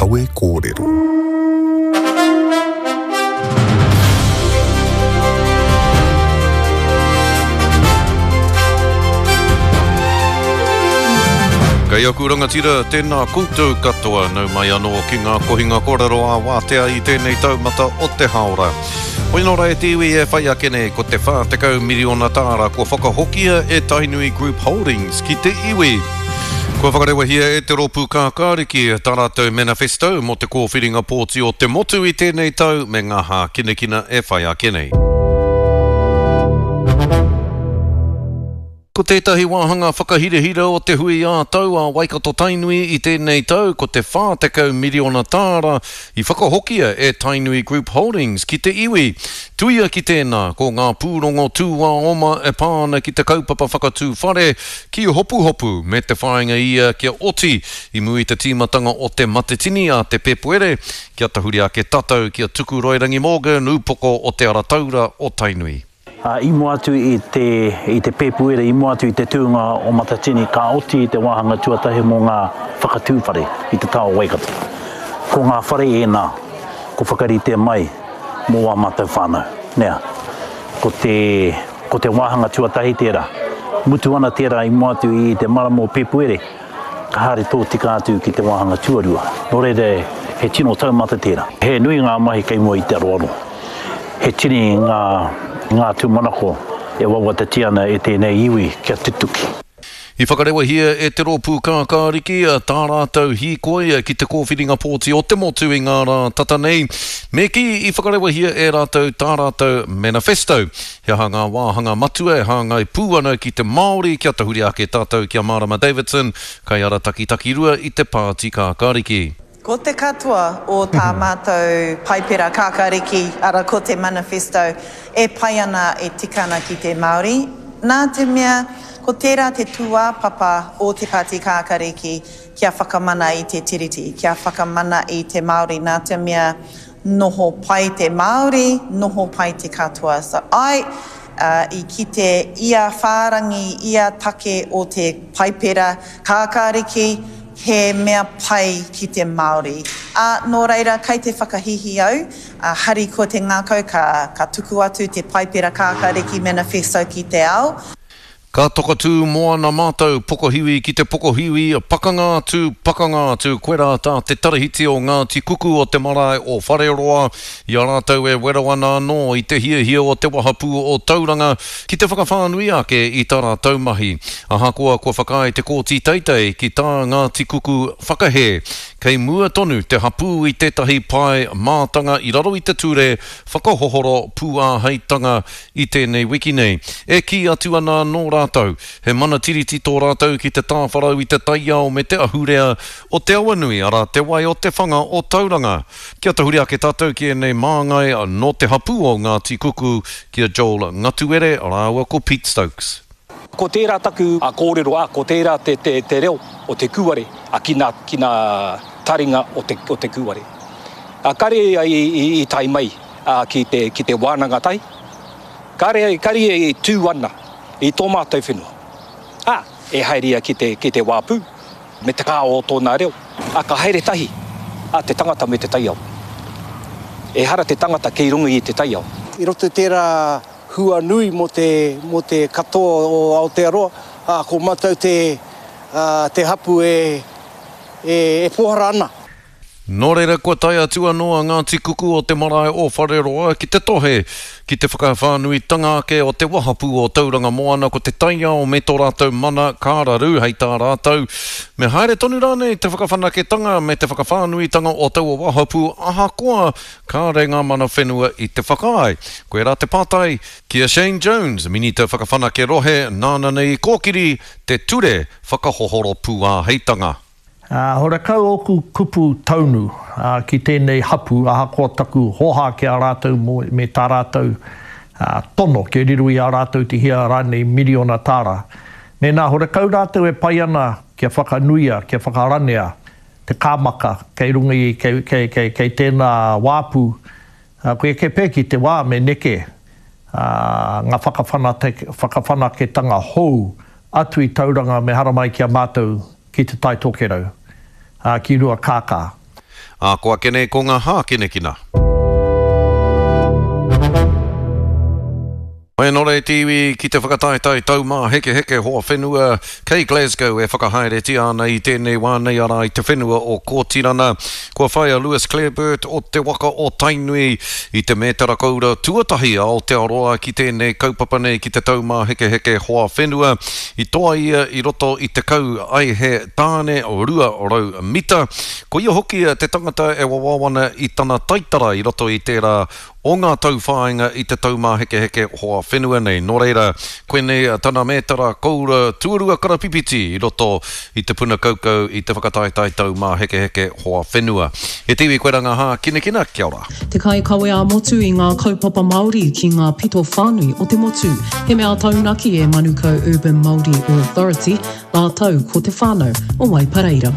Kawe Kōrero. Kei aku rangatira, tēnā koutou katoa, nau mai anō ki ngā kohinga kōrero ā-wātea i tēnei taumata o te hāora. Hoi nō rā e te iwi e whai ake nei, ko te 40 miriona tāra kua whakahokia e Tainui Group Holdings ki te iwi. Kua whakarewahia e te Rōpū Kākāriki tā rātou manifesto mō te kōwhiringa pōti o te motu i tēnei tau me ngā hākinakina e whai ake nei. Ko tētahi wāhanga whakahirahira o te hui ā-tau a Waikato-Tainui i tēnei tau ko te 40 miriona tāra i whakahokia e Tainui Group Holdings ki te iwi. Tuia ki tēnā, ko ngā pūrongo tūāoma e pā ana ki te kaupapa whakatū whare ki Hopuhopu me te whāinga ia kia oti i mua i te tīmatanga o te Matetini a te Pēpuere, kia tahuri ake tatau ki a Tukuroirangi Morgan, ūpoko o Te Ara Taura o Tainui. Ā, i mua atu i te, i te Pēpuere, i mua atu i te tūnga o Matatini, ka oti te wāhanga tuatahi mō ngā whakatū whare i te taha o Waikato. Ko ngā whare ēnā, ko whakaritea mai mō ā mātou whānau. Nea, ko te, ko te wāhanga tuatahi tērā. Mutu ana tērā i mua atu i te marama o Pēpuere, ka haere tōtika atu ki te wāhanga tuarua. Nō reira, he tino taumata tērā. He nui ngā mahi kei mua i te aroaro. He tini ngā, ngā tūmanako e wawatatia ana e tēnei iwi kia tutuki. I whakarewahia e Te Rōpū Kākāriki tā rātou hīkoi ki te kōwhiringa pōti o te motu i ngā rā tata nei. Me kī i whakarewahia e rātou tā rātou manifesto. He aha ngā wāhanga matua e hāngai pū ana ki te Māori kia tahuri ake tātou ki a Marama Davidson, kaiarataki takirua i te Pāti Kākāriki. Ko te katoa o tā mātou Paipera Kākāriki, ara ko te Manifesto, e pai ana, e tika ana ki te Māori, nā te mea ko tērā te tūāpapa o te Pāti Kākāriki kia whakamana i te Tiriti, kia whakamana i te Māori, nā te mea noho pai te Māori, noho pai te katoa. So āe, i kite ia whārangi, ia take o te Paipera Kākāriki, He mea pai ki te Māori. Ā, nō reira, kei te whakahīhī au, ā, harikoa te ngākau ka, ka tuku atu te Paipera Kākāriki Manifesto ki te ao. Ka tokatū moana mātou, pokohiwi ki te pokohiwi, pakanga atu, pakanga atu, koirā tā te tarahiti o Ngāti Kuku o te marae o Whareroa, i a rātou e wero ana anō i te hiahia o te wahapū o Tauranga ki te whakawhānui ake i tā rātou mahi. Ahakoa kua whakaae te Kōti Teitei ki tā Ngāti Kuku whakahē, kei mua tonu te hapū i tētahi pae mātanga i raro i te ture whakahohoro pūāheitanga i tēnei wiki nei. E kī atu ana anō rātou, he mana tiriti tō rātou ki te tāwharau i te taiao me te ahurea o te awanui, arā, te wai o te whanga o Tauranga. Kia tahuri ake tātou ki ēnei māngai nō te hapū o Ngāti Kuku, ki a Joel Ngatuere rāua ko Pete Stokes. Ko tērā taku kōrero, ā, ko tērā te, te, te reo o te kūare, ā, ki nā, ki nā taringa o te, o te kūare. Ā, kare ia i, i, i tae mai, ā, ki te, ki te wānanga tahi. Kare, kare ia i tū ana i tō mātou whenua. Ā, e haere ia ki te, ki te wāpū. Me te kaha o tōna reo. Ā, ka haere tahi a te tangata me te taiao. Ehara te tangata kei runga i te taiao. I roto i tērā hua nui mō te, mō te katoa o Aotearoa, ā, ko mātou te, ā, te hapū e, e, e pōhara ana. Nō reira kua tae atu anō a Ngāti Kuku o te marae o Whareroa ki te tohe ki te whakawhānuitanga ake o te wahapū o Tauranga Moana ko te taiao me tō rātou mana ka raru hei tā rātou me haere tonu rānei te whakawhanaketanga me te whakawhānuitanga o taua wahapū ahakoa kāre ngā mana whenua i te whakaae. Koirā te pātai ki a Shane Jones, Minita Whakawhanake Rohe nāna nei i kōkiri te ture whakahohoro pūāheitanga. Ā, horekau ōku kupu taunu ki tēnei hapū, ahakoa taku hōhā ki a rātou mō, me tā rātou tono kia riro i a rātou te hia rānei miriona tāra. Mēnā horekau rātou e pai ana kia whakanuia, kia whakaranea te kāmaka kei runga i, kei, kei, kei, kei tēnā wāpu, Koe eke pea ki te wā me neke ngā whakawhanaketanga hou atu i Tauranga me haramai ki a mātou ki Te Tai Tokerau, ki Ruakākā. Ā, ko ake nei ko ngā hākinakina. Whenore te iwi ki te whakataetae taumāhekeheke hoa whenua kei Glasgow e whakahaeretia ana i tēnei wā nei arā i te whenua o Kōtirana. Kua whai a Lewis Clareburt o te waka o Tainui i te mētara koura tuatahi a Aotearoa ki tēnei kaupapa nei ki te taumāhekeheke hoa whenua. I toa ia i roto i te kau aihe tāne 200 mita. Ko ia hoki te tangata e wawao ana i tana taitara i roto i tērā o ngā tauwhāinga i te taumāhekeheke hoa whenua nei. Nō reira, koinei tana mētara koura tuarua karapipiti i roto i te puna kaukau i te whakataetae taumāhekeheke hoa whenua. He te iwi koe rā ngā hākinakina, kia ora. Te kaikawe ā-motu i ngā kaupapa Māori ki ngā pito whānui o te motu. He mea taunaki e Manukau Urban Māori Authority rātou ko te whānau o Waipareira.